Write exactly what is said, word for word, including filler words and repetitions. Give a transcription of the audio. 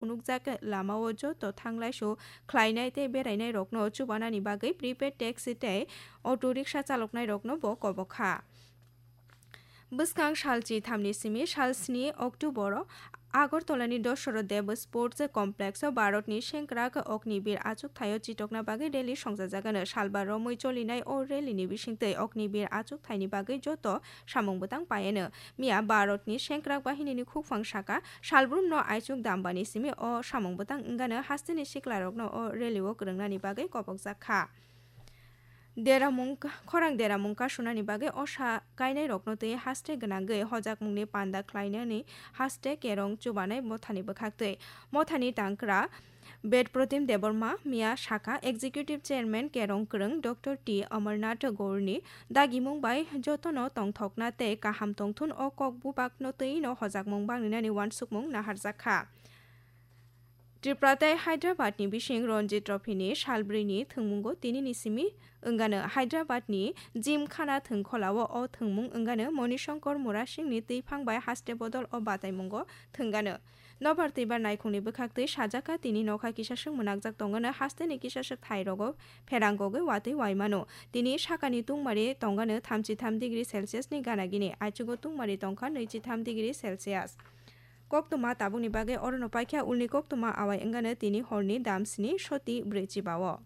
phunukjak lamao joto thanglaisu khlainai tei berainairokno chubanani bagwi prepaid taxi tei auto rickshaw chaloknairokno bo kobok kha. Bwskang sal chithamni simi sal sni October-o Agartala-ni Dosoro Dev Sports Complex-o Bharatni sengkrak Agniveer achukthaio chitokna bagwi rally songjajagano. Salbar romwi cholinai o rally-ni bisingtwi Agniveer achukthaini bagwi joto samung bwtang paiano. Miya Bharatni sengkrak bahinini khukphang saka salbrumno aichuk dambani simi o samung bwtang wngano hasteni siklarokno o rally-o kwrwngnani bagwi kobokjak kha. Deramung, khorang deramung kasunani bagwi osa kainairokno twi haste gwnangwi hojakmungni panda khlainani haste kerong chubanai mothani bwkhaktwi. Mothani tangkra Bedprotim Debbarma miya sakha, Executive Chairman kerong kwrwng Doctor T Amarnath Gourni dagimung bai jotono tongthokna tei kaham tongthun o kok bubakno twino hojakmung bangninani uansukmung naharjak kha. Tripura tei Hyderabad ni bising Ranji Trophy ni salbrwi ni thwngmungo tini ni simi wngano. Hyderabad ni Gymkhana thwngkholao o thwngmung wngano Manishankar Murasing ni twiphang bai haste bodol o bataimungo thwngano. Nobar twibar naikhung ni bwkhaktwi sajak kha, tini nokha kisaswk mwnakjak tongano, haste ni kisaswk thai rogo pherang gogwi watwi waimano. Tini sakani tungmari tongano thamchi tham degree Celsius ni gana gini, aichugo tungmari tongkha nwichi tham degree Celsius. Koktwma tabukni bagwi orono paikha, ulni koktwma awai wngano tini horni dam sni soti brwi chibao.